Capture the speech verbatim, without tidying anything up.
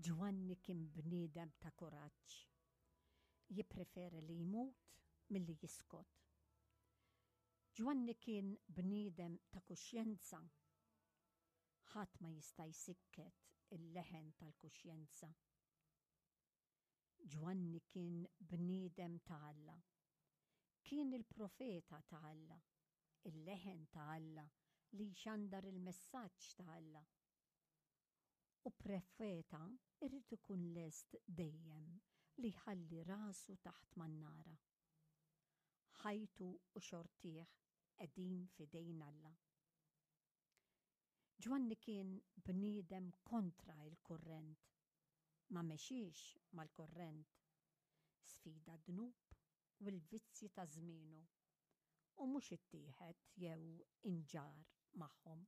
Ġwanni kien bniedem ta' kuraġġ. Jippreferi li jmut milli jiskot. Ġwanni kien bniedem ta' kuxjenza. Ħadd ma jista' jsikket il-leħen tal-kuxjenza. Ġwanni kien bniedem ta' Alla. Kien il-profeta ta' Alla, il-leħen ta' Alla li jxandar il-messaġġ ta' Alla. U profeta irid ikun lest dejjem li jħalli rasu taħt mannara. Ħajtu u xortih qegħdin f'idejn Alla. Ġwanni kien bniedem kontra il-kurrent. Ma mexiex mal-kurrent. Sfida d-dnub u l-vizzji ta' żmienu u mhux ittieħed jew inġarr magħhom.